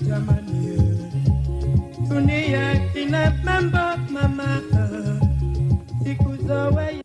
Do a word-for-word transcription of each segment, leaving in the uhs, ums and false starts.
Jamani, dunia ina mambo mama, siku zoe.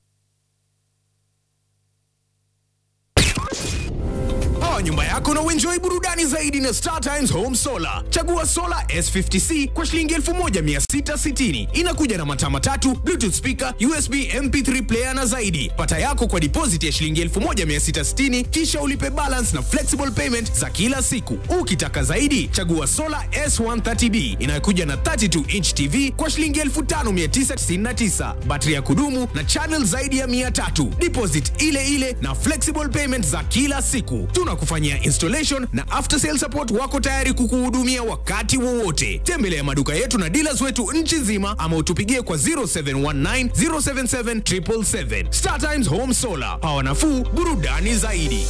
Power nyumba yako na uenjoy burudani zaidi na Star Times Home Solar. Chagua Solar S fifty C kwa shilingi elfu moja mia sita sitini. Inakuja na mataa matatu, Bluetooth speaker, U S B M P three player na zaidi. Pata yako kwa deposit ya shilingi elfu moja mia sita sitini, kisha ulipe balance na flexible payment za kila siku. Ukitaka zaidi, chagua Solar S one thirty B inayokuja na thirty-two inch T V kwa shilingi elfu tano mia tisa tisini na tisa, battery ya kudumu na channel zaidi ya mia tatu. Deposit ile ile na flexible payment za kila siku. Tunakufanyia installation na after sale support, wako tayari kukuhudumia wakati wowote. Tembelea maduka yetu na dealers wetu nchi nzima ama utupigie kwa zero seven one nine, zero seven seven, triple seven. Star Times Home Solar, power nafuu, burudani zaidi.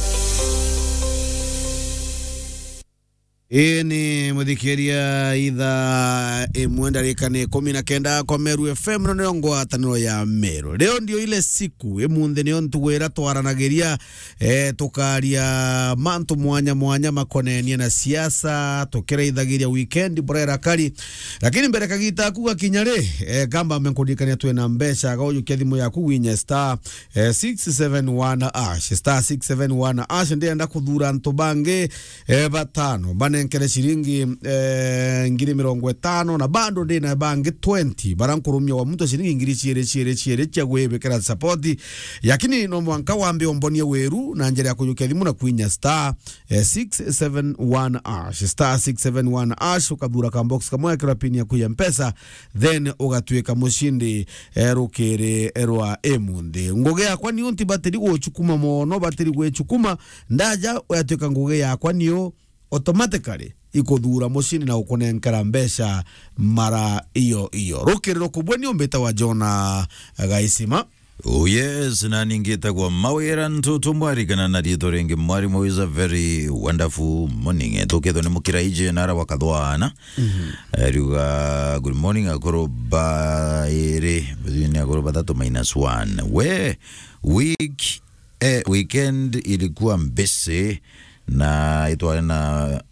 Ii ni muthikiria, ithaa imwe ndarika ni ikumi na kenda kwa Meru F M, no niyo ngwataniro ya Meru. Leo ndio ile siku, imunthi niyo ntugu iria twaranagiria, eh, tukaria mantu mwanya mwanya makonenie na siasa, tukiraithagiria weekend burera kari. Lakini mbere kagita aku gakinya ri, eh, kamba menkuririkania twina mbeca, ga ujukia thimu yaku winye star, eh, six seven one hash, star six seven one hash, ndienda kuthura antu bangi, eh, batano, banenkere ciringi, eh, ngiri mirongo itano, na bado ndina bangi twenty, bara nkurumia wa muntu ciringi ngiri ciiri, ciiri, ciiri cia gwibikira support. Lakini no mwanka wambe umbonie wiru na njira ya kujukia thimu na kwinya star, eh, six seven one hash, star six seven one hash, ukathura ka box kamwe, ekira pin yaku ya Mpesa, then ugatuika mucindi, eh, rukiri rwa imunthi. Ngugi yakwa niyo ntibatiri gucukuma mono, batiri gwicukuma, ndaja yatuika ngugi yakwa niyo automatically ikuthura mucindi na gukunenkera mbeca mara iyo iyo. Rukiri rukubwe ni umbite wa Jona Gaisima. Oh yes, na ningitagwa Mawira Ntutu Mwarikana na riitwa ringi Mwarimu is a very wonderful morning. Tukithwa ni mukiraiji nara wa kathwana. Mhm. Ariuga, "Good morning, akuru bairi, ni akuru bathatu minus one." We, week, eh, weekend ilikuwa mbisi na itware na,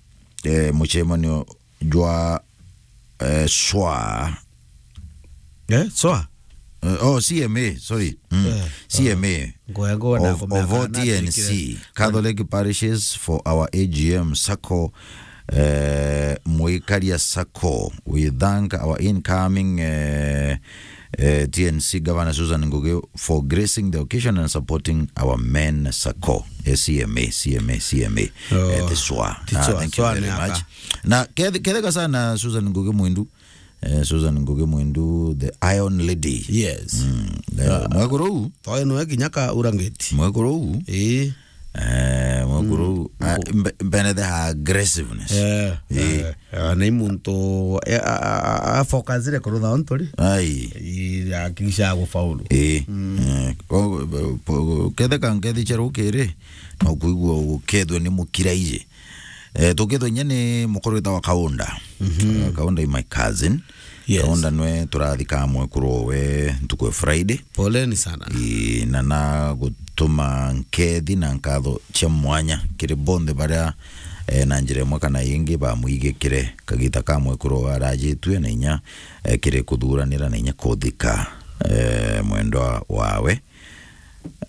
eh, mucemanio jwa, eh, swa. Eh, swa? Eh, oh, C M A, sorry. Mm. Eh, C M A. Ngoya, ngoya na of, of all T N C, Catholic Parishes for our A G M Sacco, eh, Mwikaria Sacco. We thank our incoming, eh, eh, T N C Governor Susan Ngugi for gracing the occasion and supporting our men Sacco. Eh, C M A, C M A, C M A. Oh, eh, the swa. Ah, thank you very much. Na kethe-, ketheka sana Susan Ngugi Mwindu. Eh, Susan Ngugi Mwindu, the Iron Lady. Yes. Mm, eh, ah, mwekuru u? Toyo nwe kinya ka urangeti. Mwekuru u? Ii. Eh, mwekuru u. Mm. Ah, mbe-, mbene the aggressiveness. Eh, ii. Eh, eh, na i muntu, eh, a, a, a, a focusire kurutha ontori. Ai. Ii, akilisha gufaulu. Ii. Mm. Eh, ko-, po-, ketheka nkethi cia rukiri, no kuigua gukethwe ni mukiraiji. Eh, tukithwa inya ni mukuru witagwa Kaunda. Mhm. Eh, Kaunda is my cousin. Yes. Kaunda nwe turathika mwekuru we ntuku ya Friday. Poleni sana. Ii, na na gutuma nkethi na nkatho cia mwanya kiri bonthe baria, eh, na njira imwe kana ingi bamwigikire kagita ka mwekuru we arajitue na inya, eh, kiri kuthuranira na inya kuthika, eh, mwendwa wawe.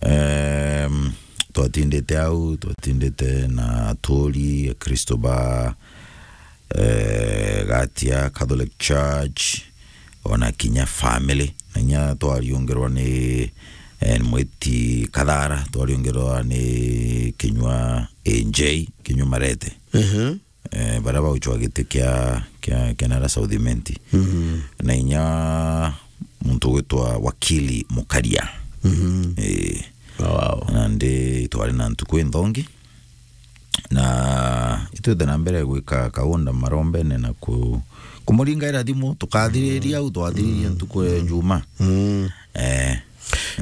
Em, twatindite au, twatindite na aturi Akristo ba, eh, Gatia Catholic Church, ona kinya family. Na inya twariungerwa ni, eh, mwiti Kathara, twariungerwa ni Kinyua A J, Kinyua Marete. Mhm. Eh, baria bauchwa giti kia, kia, kia nara South Imenti. Mhm. Na inya muntu ugwitwa Wakili Mukaria. Mhm. Eh. Oh, wow. Na ndi twari na ntuku inthongi. Na itwite na mbere gwika Kaunda marombene na ku-, kumuringaira thimu, tukathiriria au, twathiriria ntuku ya Juma. Mm. Eh.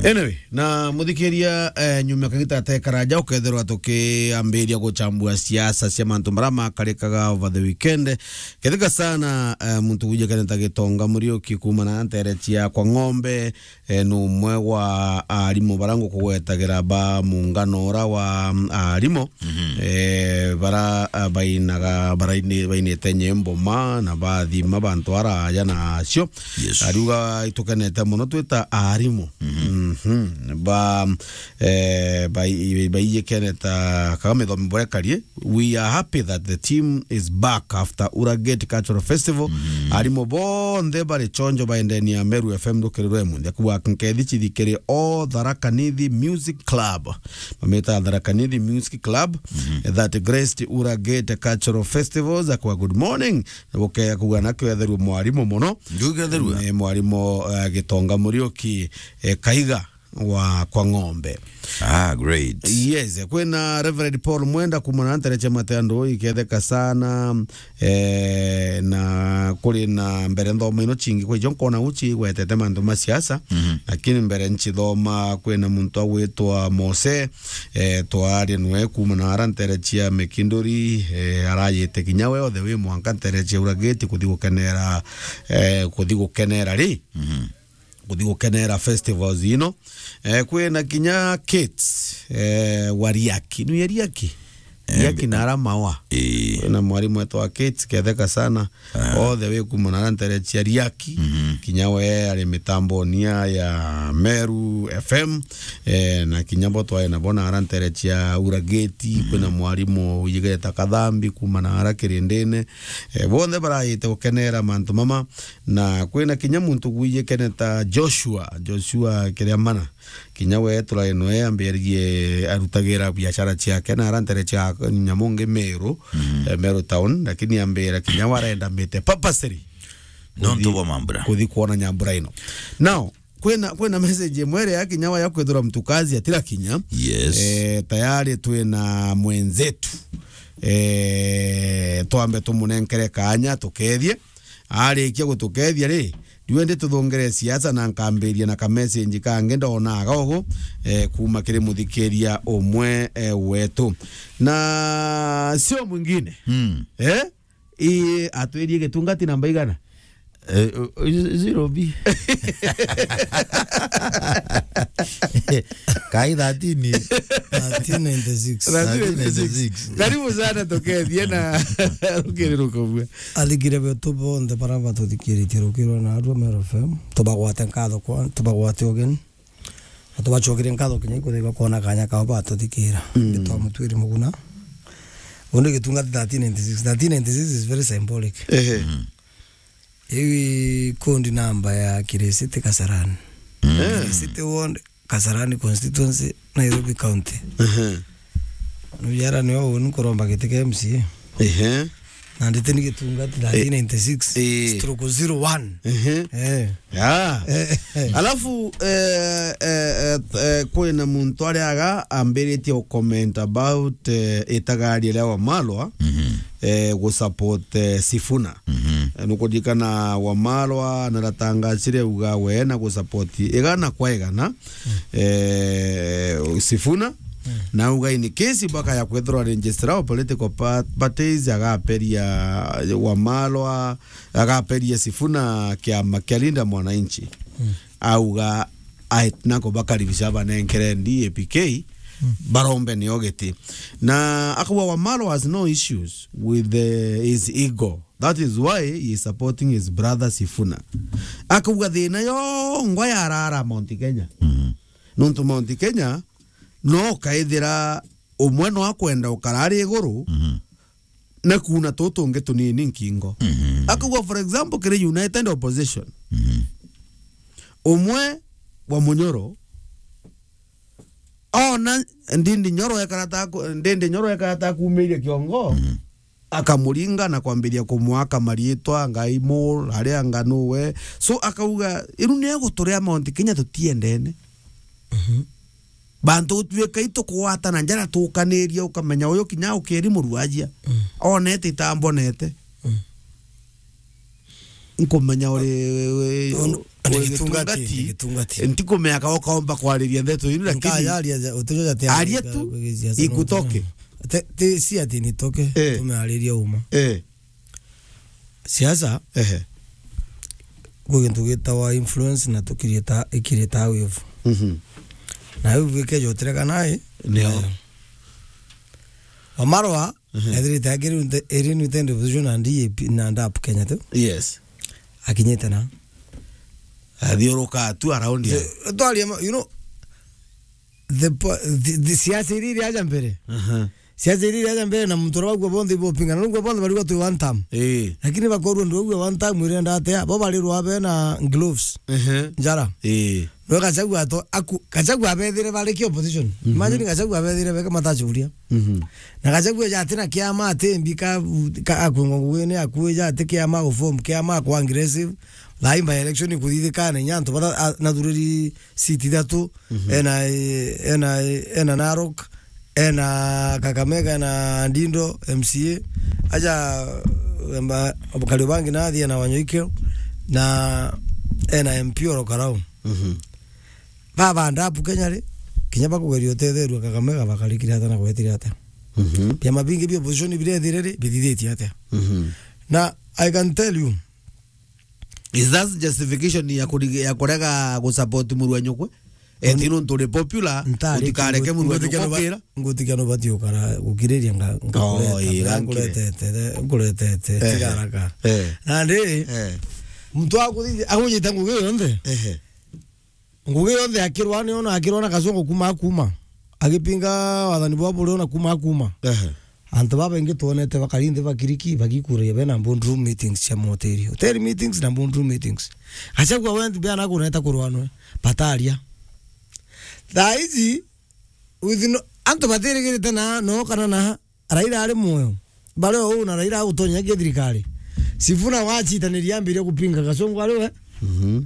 Anyway, na muthikiria, eh, nyuma kagita atekaraja ukethirwa tukiambiria guchambua siasa cia mantu maria makarikaga over the weekend. Kethika sana, eh, muntu wije kene ta Gitonga Muriuki kuuma na ntere cia kwa Ng'ombe, eh, ni umwe wa arimu bara ngukugwetagira ba muungano ura wa, mm, arimu, eh, bara, ah, bainaga, baraini-, bainite nyimbo ma na bathima bantu araya na acio. Yes. Ariuga itukenete muno twita arimu. Mhm. Ba, eh, bai-, baiyikene ta Kagame thomi borekarie. We are happy that the team is back after Uragate Cultural Festival. Arimu bonthe bari chonjo baendenia Meru F M ndukiri rwe munthi. Akuwa nkethi chithikiri o Tharaka Nithi Music Club. Mameta Tharaka Nithi Music Club. That graced Uragate Cultural Festivals. Akuwa good morning. Buke kuga nakio etherua mwarimu muno. Ndugetherua. Ni mwarimu, eh, Gitonga Muriuki, eh, Kaiga wa kwa Ng'ombe. Ah, great. Yes, kwina Reverend Paul Mwenda kuuma na ntere cia Mateandu, iketheka sana, eh, na kuri na mbere nthoma ino chingi kwa ijo nkona uchi gwetete mantu ma siasa, lakini mbere nchithoma kwina muntu agwitwa Mose, eh, twaria nwe kuuma na ara ntere cia Mikinduri, eh, arayite kinya we othe wi mwanka ntere cia Uragate kuthi gukenera, eh, kuthi gukenera ri? Kuthi gukenera festivals ino. Eh, kwina kinya Kate, eh, wa Riaki. Ni ya Riaki? Eh, Riaki na ara mawa. Eh. Kwina mwarimu wetu wa Kate, ketheka sana. Othe wi kuuma na ara ntere cia Riaki. Kinya we ari mitamboni ya, ya Meru F M. Eh, na kinya bo twae nabo na ara ntere cia Uragate. Kwina mwarimu wijigeta Kathambi kuuma na ara kirindine. Eh, bonthe barayite gukenera mantu mama. Na kwina kinya muntu gwijikene ta Joshua, Joshua Kiriamana. Kinya we turae noe ambiririe arutagira biashara ciake na ara ntere cia nyamu ngi Meru, eh, Meru town, lakini ambira kinya we arenda mite purposely Nontu kuthi-, bwa mambura. Kuthi kuona nyambura ino. Now, kwina, kwina message imwe iria kinya wa ya kwithira mtu kazi atira kinya. Yes. Eh, tayari twina mwenzetu. Eh, twambe tumunenkere kanya tukethie. Arikia gutukethia ri, riu ndi tuthongere siasa na nkambiria na ka message kangi ndonaga ugu, eh, kuuma kiri muthikiria umwe, eh, wetu. Na sio mwingine. Eh? I, atwirie gitungati namba igana? Eh, o-, o-, zero B. Kai thirteen. Thirteen ninety-six. Thirteen ninety-six. Karibu sana tukethie na rukiri rukobua. Athikire betu bonthe bara batuthikiritie rukirwa na arua Meru F M. Tubagwate nkatho kwa, tubagwate ugeni. Na tubacokerie nkatho kinya ikuthaiba kwona kanya kao batuthikira. Nitwa Mutwiri Muguna. Undi gitungati thirteen ninety-six. Thirteen ninety-six is very symbolic. Ehe. Iu ikundi namba ya Kirisiti Kasarani. Kirisiti Ward, Kasarani Constituency, Nairobi County. Ehe. Nujara nio uni kuromba giti kia M C A. Ehe. Na ndite ni gitungati thirteen ninety-six, eh, stroke zero one. Ehe. Eh. Ya. Eh, eh. Alafu, eh, eh, eh, eh, kwina muntu ariaga ambiritie comment about, eh, itagari ria Wamalwa, eh, gu support, eh, Sifuna. Eh, nukuririkana Wamalwa naratangacire uga we na gu support igana kwa igana, eh, Sifuna. Na uga in case baka ya kwithirwa register wa political pa-, parties, agaperia Wamalwa, agaperia Sifuna kiama kia Linda Mwananchi. Auga aitnako bakaribisha banenkere D A P K, barombe nio giti. Na akauga Wamalwa has no issues with the, his ego. That is why he is supporting his brother Sifuna. Akauga thina yongwa yarara Mount Kenya. Nontu Mount Kenya no kaithira umwe no akwenda ukara ari iguru, na kuuna tutu tungi tunini nkingo. Akauga, for example, kiri United Opposition, umwe wa Munyoro, ona Ndindi Nyoro ekara ta ku-, Ndindi Nyoro ekara ta kuumiria kiongo, akamuringa na kwambiria kumwaka mariitwa, Ngai Mur, aria anga nuwe. So akauga, iru ni eguturia Mount Kenya tutiendene. Bantu gutuika itukugwatana njara tukaniria, ukamenya uyu kinya ukiri muruajia. Onete itambonete. Nkumenya uri, uri, uri gitungati, gitungati. Ntikumenya ka ukaomba kwariria ndeto inu, lakini nkayaria ja, utijo jati aria tu ikutoke. Te, te, si ati nitoke, eh, tumeariria uma. Eh. Siasa, ehe, kwi gintu gitawa influence na tukirieta, ikirieta wave. Mhm. Na wave ikeja utireka nayo. Nio. Nayo. Wamarwa, mhm, ethirite akiri nte, iri nte opposition na D A P na ndap Kenya tu. Yes. Akinyite na. Athiuruka tu around ya. Twaria ma, you know, the po-, the, the siasa iri iri aja mbere. Aha. Siasa iri iri aja mbere na muntu uria waugua bonthe ibopingana, nugua bonthe barigwa twi one term. Ii. Lakini bakorwa ndu waugua one term irenda atia, bo barirwa be na gloves. Ehe. Njara. Ii. No Gachagua ato-, aku-, Gachagua abethire bari ki opposition. Mhm. Imagine Gachagua abethire beke matachuria. Mhm. Na Gachagua ja ati na kiama ati mbika, ka akwingwa ngugi ni akuija ati kiama guform, kiama kwa aggressive. Thaa ii by election ikuthithikana inya antu bara, a, nathuriri seat ithatu, mhm, ena, ena, ena Narok, ena Kakamega, ena Ndindo, M C A. Aja, emba, Kariobangi nathi ena Wanyoike, na ena M P Oro Karau. Mhm. Baba ndapu Kenya ri, kinya bakugeria utetherua Kakamega bakarikire ata na gwetire ata. Mhm. Biama bingi bia opposition birethire ri, bithithitie atia. Mhm. Na I can tell you, is that justification ya kuri-, ya kurega gusupport muru wa nyukwe? Eti nuntu uri popular, ntari utikareke muru wa nyukwe ukira. Ngutikia nubati ukara gukiriria nga-, oh, ngakureta, ii, ngakureta, ngakureta, ngakureta, eh, tiga haraka. Eh. Nandi, eh, muntu akuthithia, akunyita ngugi yonthe. Ehe. Ngugi yonthe akirwa ni ona akirwa na Kasongo kuma akuma. Agipinga wathani bwa buri ona kuma akuma. Ehe. Antu babaingi twonete bakari nthi bakiriki bagikuria bena boardroom meetings cia mahoteli. Hotel meetings na boardroom meetings. Gachagua went bia na kureta kurwanwe. Bataria. Thaa ici, with no, antu batirigirite na no kana na Raila ari muoyo. Bari o uu na Raila agutonyagia thirikari. Sifuna wachitaniria ambiria kupinga Kasongo ari we. Mhm.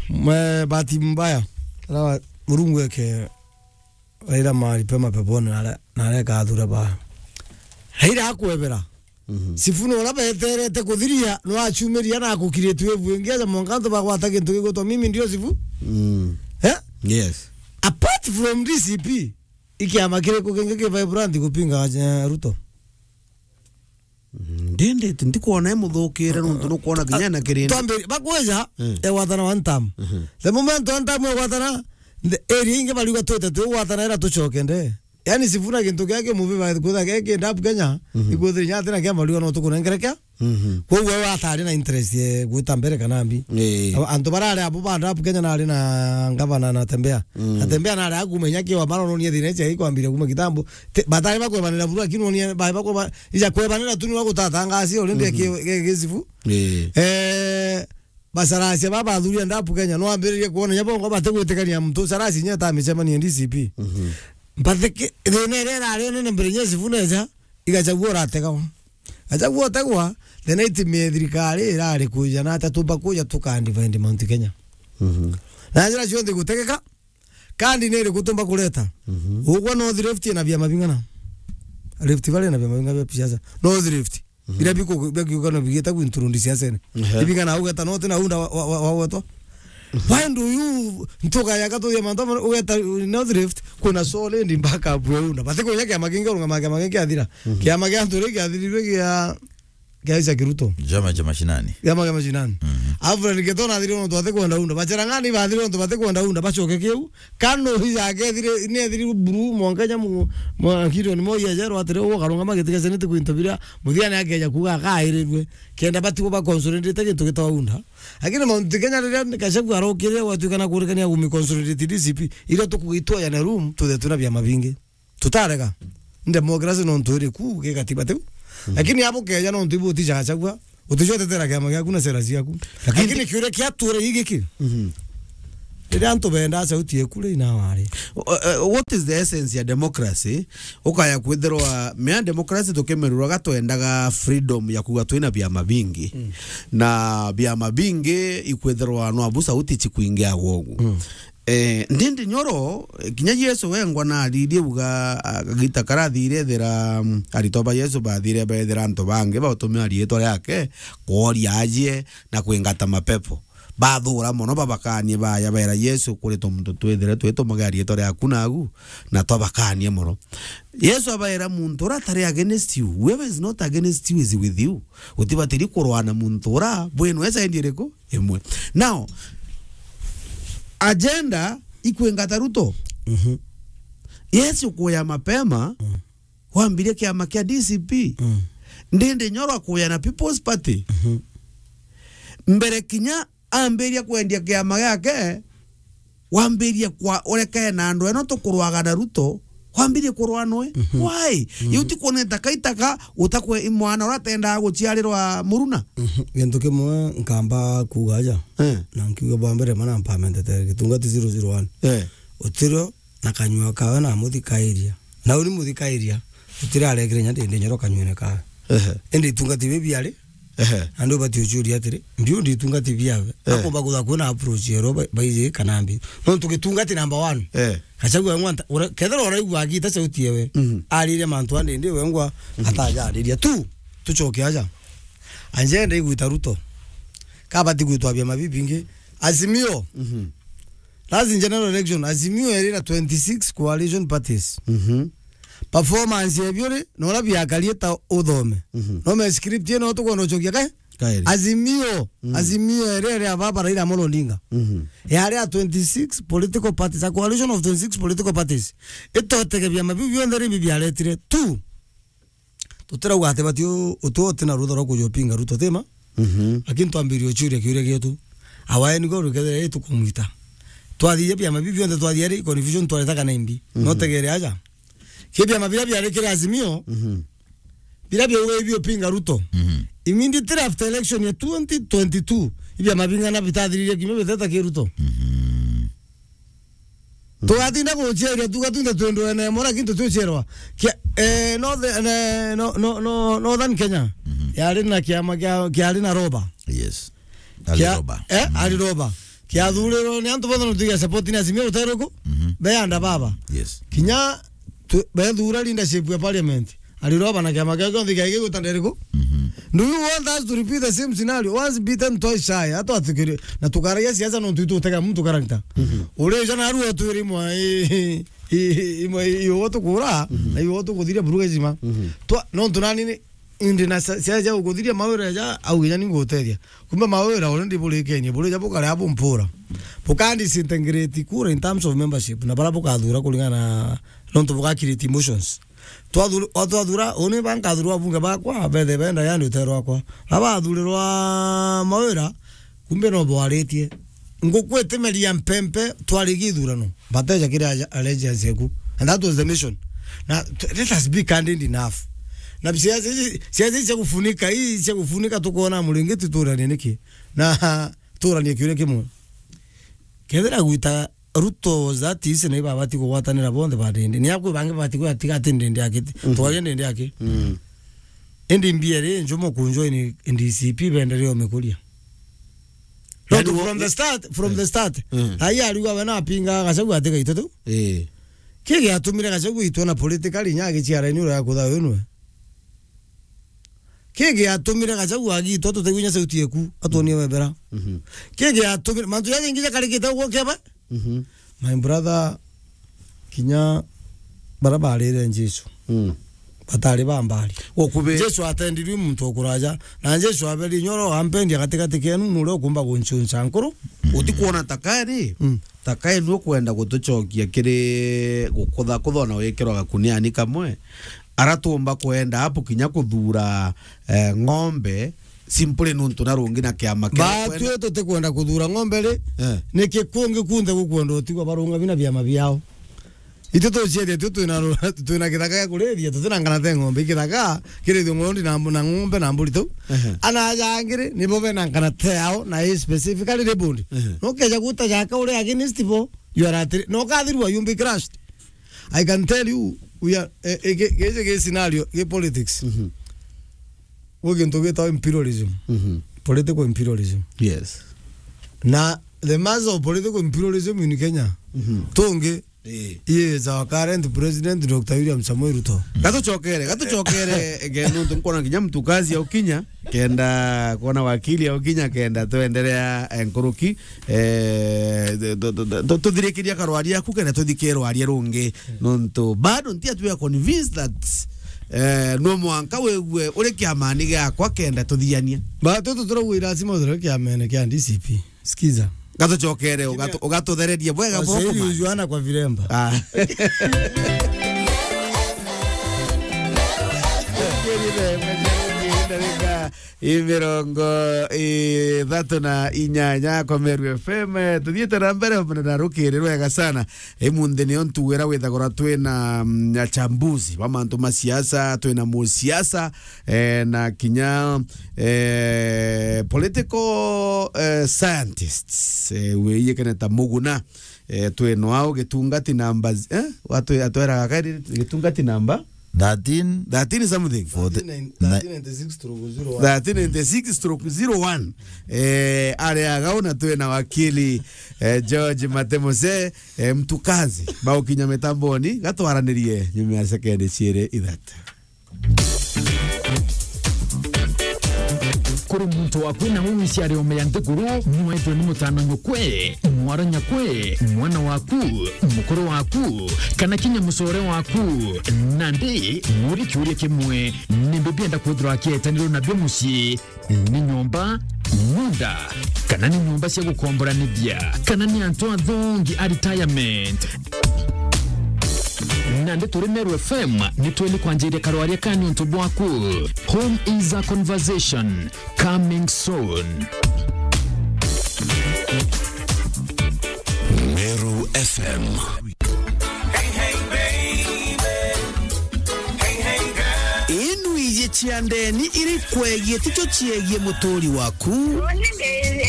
Mwe, bahati mbaya. Rawa, Murungu eke Raila mahali pema peponi na are-, na areka athure ba. Raila akwebera. Mhm. Sifuna uria beterete kuthiria, no achumiria na akukiritie wave ingi, aja mwanka antu bagwata gintu gigwitwa mimi ndio Sifu. Mm. Eh? Yes. Apart from D C P, i kiama kiriku kingi ki vibrant kupinga, eh, Ruto? Mm, ndindi, ndikwona imuthukire nontu nukwona kinya na kirindi. Twambi-, bakwija, mm, egwatana one term. Mhm. The moment one term egwatana, the area ingi bariuga twite twigwatana ira tucoke nde. Yani Sifuna gintu kia kimuvi ba kwitha kia ki ndap Kenya, mhm, ikwithira inya atina kia bariuga no tukunengere kia. Mhm. Koguo we atari na interest ye gwita mbere kana mbi. Ii. Aba-, antu barari abo ba ndap Kenya nari na ngavana Natembeya. Mm. Natembeya nari akuma inya kiwa marononie thina icio ikwambire kuma kitambo. Te-, batari bakwebanira buru, lakini onie bai bakweba-, ija kwebanira tu ni wa gutatangasia already, mhm, ki-, ki-, gicibu. Ii. Eh, bacaracia ba bathuria ndapu Kenya, no ambiririe kuona inya bongo batigwitikania muntu caraci inya ta micemanie D C P. Mhm. Mbathiki-, thina iria irari nene mbere inya Sifuna eja, i Gachagua urategawa. Gachagua utegwa, the night me thirikari irari kuja na ata tumba kuja tuka divide Mount Kenya. Mhm. Na njira cionthe gutegeka, kandi ni iriku tumba kureta? Mhm. Ugwa North Rift ina biama bing'ana? Rift Valley ina biama bing'ana bia siasa? North Rift. Mhm. Biria biku-, bikiuga no bigita gwinturundi siasene. Ehe. Ibing'ana ugeta no tina unda wa, wa, wa, wa gwetwa. Mhm. Why do you ntuka ya gatuthia mantu amwe ugeta North Rift, kuna solid backup ya unda? Bati kunya kiama kingi urungama kiama kingi kiathira. Mhm. Kiama kia antu ri kiathirirwe kia kia Isaac Ruto. Chama cha mashinani. Chama cha mashinani. Mhm. Alfred Keto nathire nontu batikwenda unda. Bacherang'ani bathire nontu batikwenda unda. Bacoke kiu. Kanu hija akethire, ni ethiri buru mwanka nya mu-, mwa Gideon Moi ejerwa atiri, ukarungama giti kia Senate kwinto biria, muthia ni akeja kuuga akairirwe. Kenda batigwo ba consolidate gintu gitawa unda. Lakini Mount Kenya riria Gachagua arokire, gwatuika na kurikania gumi consolidate D C P, iria tukugitwa ya na room, tuthe tuna biama bingi. Tutarega. Ni democracy nontu iri ku, gi gatiba tiu. Mhm. Lakini abo keja nontu ibu utijaga Gachagua, uticotetera kiama giaku na sera ciaku. Lakini lakini kiuria kiatura gigiki. Mhm. Riria antu bendaa sauti eku ri, ina wari. Uh, uh, what is the essence ya democracy? Ukaya kwithirwa, mea democracy tukimeruraga twendaga freedom ya kuga twina biama bingi. Mm. Na biama bingi ikwithirwa no abu sauti cikwingiagwa ugu. Mm. Eh, ndindi nyoro, kinya Yesu wengwa na aririe uga, ah, gita karathire ethira, mm, aritwa ba Yesu bathire bethira antu bangi bautumira riitwa riake kworia ajie na kwingata mapepo. Bathura mono, babakanie baya, beera Yesu, kuri tumuntu twithire twitumage riitwa riaku nagu, na twabakanie mono. Yesu abaera, muntu uria atari against you, whoever is not against you is with you. Utibatiri kurwana muntu uria bwenu e side iriku? Imwe. Now, agenda ikwingata Ruto. Mhm. Yesu kuya mapema, mm, wambirie kiama kia D C P. Mm. Ndindi Nyoro akuya na People's Party. Mhm. Mbere kinya ambiria kwendia kiama giake, wambirie kwa, urekee na andu eno tukurwaga na Ruto, wambirie kurwa noe. Mhm. Why? Mhm. Yu ti kuoneta kaitaka utakwe i mwana uria atendaga guciarirwa muruna? Mhm. Gintu kimwe nkamba kuuga aja, eh, na nkiuga bwa mbere, mana mpamentetere gitungati zero zero one. Eh. Utirio na kanyua kawe na muthikairia. Na uni muthikairia, utirarekire nya Ndindi Nyoro kanyuene kawe. Ehe. Indi itungati biu biari, ehe, na ndu bati ucuria atiri, mbiu ndi itungati biawe. Eh. Akomba kutha kwina approach yero ba-, baiji kana mbi. Nontu gitungati number one. Eh. Gachagua wengwa nta-, ura-, kethira uraigua agita sauti yewe, mhm, arire mantu a Ndindi wengwa, mhm, atajariria. Tu, tucoke aja. Anjenda igwita Ruto. Kabati gwitwa biama bibingi. Azimio. Mhm. Last general election, Azimio eri na twenty-six coalition parties. Mhm. Performance ebio ri, na uria biakarie ta uthome. Mhm. No me script ino tukwenda ucokia kae? Kairi. Azimio, mhm, Azimio eri eri ya baba Raila Amolo Odinga. Mhm. Yari a twenty-six political parties, a coalition of twenty-six political parties. Itotege biama biu bionthe ri bibiaretire tu. Tutirauga ati bati u-, utu uti na rutha rwa kuja upinga Ruto, tima? Mhm. Lakini twambirie uchuria kiuria gietu. Awae nigo rukethira ri tukumwita. Twathithia biama biu bionthe twathia ri, confusion twareta kana imbi. Mhm. No tegere aja. Ki biama biria biarikire Azimio, mhm, biria biauga ibi upinga Ruto. Mhm. Immediately after election ya twenty twenty-two, ibiama bing'ana bitathiririe kiumia biteta ki Ruto. Mhm. Tugatinda guciaria, tugatinda twendwene mora kintu tuciarwa. Kia, eh, North-, eh, no, no, no, Northern Kenya. Mhm. Yari na kiama kia, kiari na Roba. Yes. Kia-, Aliroba. Eh, mhm. Aliroba. Kiathurirwo ni antu bonthe nontu ya support ni Azimio Ruteruku. Mhm. Beanda baba. Yes. Kinya tu-, bethura leadership ya parliament. Aliroba na kiama kiao kionthe kiaigi gwita nderiku. Mhm. Do you want us to repeat the same scenario? Once bitten, twice shy. Atwatikiri. Na tukaragia siasa nontu itutega muntu character. Mhm. Urija na aru otwiri imwe i, i, imwe i, iugo tukura, mhm, na iugo tukuthiria buruga ijima. Mhm. Twa, nontu nani ni, indi na sia-, siasa cia gukuthiria mawira ja, au kinya ni ngutethia. Kumbe mawira already burikenie, burija bukarea bumpura. Buka disintegrate kura in terms of membership, na bara bukathura kuringana na nontu buka create emotions. Twathur-, o twathura, uni bankathurwa abunge bakwa, bethe benda yani utero wakwa. Abathurirwa mawira, kumbe no bwaritie. Nguku itimeria mpempe, twarigi ithurano. Bateja kiri aja-, allegiance eku. And that was the mission. Na t-, let us be candid enough. Na siasa ici, siasa ici cia kufunika, hii cia kufunika tukuona muringiti turanie niki? Na turanie kiuria kimwe. Kethira gwita Ruto was that easy na ibabati kugwatanira bonthe ba Ndindi. Ni akwi bangi babati kwatiga ati Ndindi akiti. Mhm. Twaria Ndindi aki. Mm. Indi mbia ri njumo kunjwa ni D C P bendere o mikuria. Yani not wo-, from the start, from eh, the start. Mm. Ai ariwa we na apinga Gachagua ati gaito tu. Eh. Ki giatumire Gachagua itwa na politically nya agichiara ni uria kutha we nwe. Ki giatumire Gachagua agitwa tutegwinya sauti yeku, atwonie webera. Mhm. Ki giatumire, mantu jaja ingi jakarikite uguo keba? Mhm. My brother, kinya bara barire Jesu. Mm. Batari ba mbari. Jesu atendirwe muntu okuraja, na Jesu aberi nyoro ampendia gatigati kenu, nuri ukumba gunchuncha nkuru. Mm. Utikuona ta kairi? Mm. Ta kairi ni ukwenda gutucokia kiri gukutha kuthona wikirwa gakuniani kamwe? Ara tuumba kwenda apu kinya kuthura, eh, ng'ombe, simply nuntu na rungi na kiama kia kwenda. Batwi tutikwenda kuthura ng'ombe ri, eh, niki kungi kunthe gukwenda utigwa barunga bina biama biao? Itwe tuciaria tu twina ru-, twina kithaka gia kuriithia, tutina ngana te ng'ombe, kithaka kirithio ng'ondi na mbu-, na ng'ombe na mburi tu. Ehe. Ana aja angiri nibo bena ngana te yao na i specifically labeled. Ehe. No keja guta jaka uri against bo, you are at, no kathirwa, you be crushed. I can tell you, we are, eh, eh, ge-, geje ge scenario, ge politics. Mhm. Gwi gintu gitagwa imperialism. Mhm. Political imperialism. Yes. Na the mass of political imperialism in Kenya, mhm, tungi, eh, is our current president, Doctor William Samoei Ruto. Gatuchokere, gatuchokere, ge-, nontu nkwona kinya mtukazi aukinya, kenda kwona wakili aukinya, kenda twenderea, eh, nkuruki, eh, tu-, tu-, tu-, tu-, tuthirikiria karwaria aku, kenda tuthike rwaria rungi, nontu bado nti atu ya convinced that, eh, no mwanka wigue uri kiamani giakwa, kenda tuthiania. Ba, tu, tu, turaugwa lazima uthire kiamene kia D C P. Sikiza. Gatuchokere, ugatu-, ugatuthererie bwega. Washairi bwoko, man. Ujuana kwa viremba. Ah. Ndagika i mirongo ithatu na inyanya kwa Meru F M. Tuthiite na mbere na rukiri rwega sana. Imunthi nio ntuwira withagirwa twina, mm, achambuzi ba mantu ma siasa, twina musiasa, eh, na kinya, eh, political, eh, scientists, eh, wiyikene ta Muguna. Eh, twino au gitungati namba z-, eh? Watu atweraga kairi gitungati namba? Thirteen. Thirteen something. Forty. Thirteen ninety-six stroke zero one. Thirteen ninety-six stroke zero one. Eh, ari agau na twina wakili, eh, George Matemose, eh, mtukazi. Baukinya mitamboni, gatwaranirie nyuma ya sekendi ciiri ithatu. Kuri muntu waku na uwi ciari ome ya nthiguru, nwaitwe ni mutano nyukwe, mwara nyakwe, mwana waku, mukuru waku, kana kinya mucore waku. Nandi, muri kiuria kimwe, nimbi bienda kwithirwa akietanirwo nabio mucii? Ni nyomba, munda, kana ni nyomba cia gukomboranithia, kana ni antu athongi a retirement? Nandi turi Meru F M, ni tweli kwanjiria karwaria ka niuntu bwaku. Home is a conversation, coming soon. Meru F M. Inu iji cia ndeni iri kwegie ticho ciegie muturi waku. Uuni ni, eh,